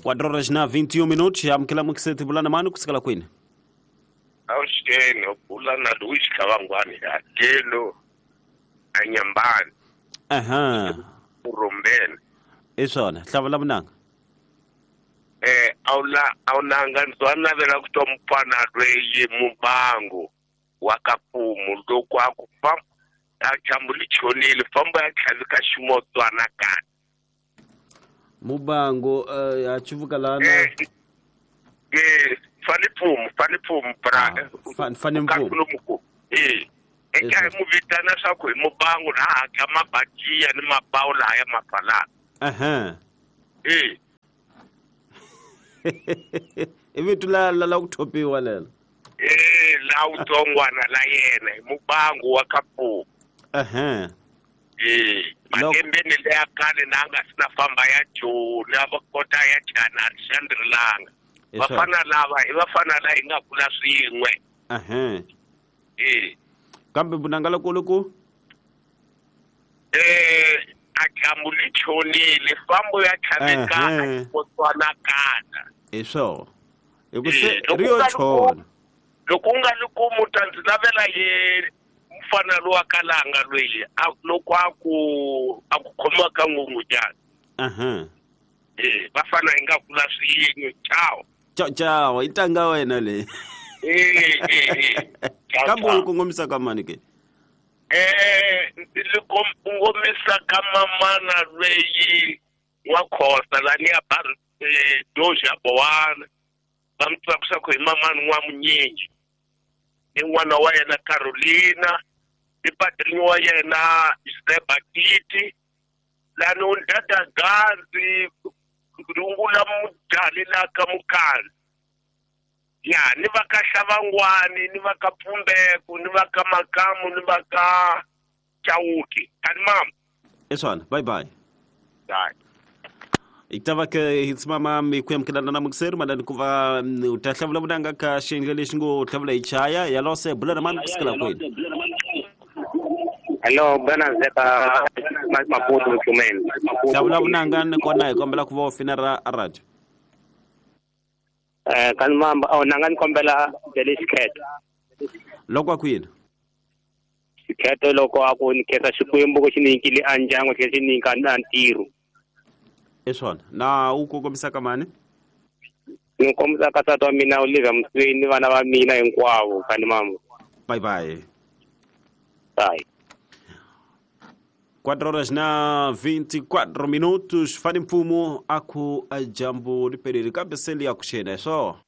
4 horas na 21 minutos, amukela mukiseti bulana mani kusukela kwini? Awuxeni bulana Louis Kavangwani hakelo anyambani. Aha. Urombeni. I swona, hlavula munanga. Awula awunanga ndzwa navela ku twa mufana lweyi mubango wa ka mfumo loko a ku famba a dyambu li chonile famba ya tlhavika ximotswana kani. Mubango a chivuka lana. Fani Pfumo, Fani Pfumo bra. Fani Mpfumo. Eka hi mu vitana swa ku hi mubango laha hakya mabajiya ni mabawu laha ya mafalana. Aha. I vito la la la ku thopiwa lelo. La wutsongwana la yena hi mubango wa ka Pfumo. Aha. Malembeni leya khale na nga si na famba ya Joni a va kota ya Chana Alexandre. Vafana lava i vafana la hi nga kula swin'we. Aha. Kambe vunanga loko ku a dyambu li chonile fambo ya tlhavekana ximotswana kana. Hi swona. Hi ku se ri yo chona. Loko u nga li kumi u ta ndzi lavela ye mufana lowa kalanga loyi loko a ku khomiwa ka ngungudyana. Aha. Vafana hi nga kula swin'we. Ciao. Ciao ciao, i ntanga wena leyi. Kambe u kongomisa ka mani ke? Ndzi li kongomisa ka mamana lweyi wa Khosa lani ya Doji ya Bowana. Va mi tiva ku hi mamani n'wa Munyingi. Ni n'wana wa yena Carolina, ni padrinho wa yena Zeba Titi, lani u ndada Gazi, rungula mudali la ka Mukhala. Ya, ni va ka Xavangwani, ni va ka Pfumbeko, ni va ka Makamu, ni va ka Chauke. Kani mama. I swona, bye bye. Bye. Itava ke hitsimama mi ku yamkelana na mukiseri malani ku va u ta hlavula vunanga ka xiyenge lexi ngo hlavula hi chaya yalose bulana mani kusukela kwini. Hello, bana zeka Maputo Mchumeni. Hlavula vunanga ni kona hi kombela ku va u fina ra radio. Kan mamba aw nanga ni kombela dele xikhetho. Loko a ku yini? Xikhetho loko a ku ni khetha Xikwembu ku xi ni nyikile a ndyangu xi xi nyika na ntirho. I swona. Na u kongomisa ka mani? Ni kombisa ka tata wa mina Olivia Msweni ni vana va mina hinkwavo kani mama. Bye bye. Bye. 4 horas na 24 minutos. Fani Mpfumo a ku dyambu ri perile kambe se li ya ku xena hi swona.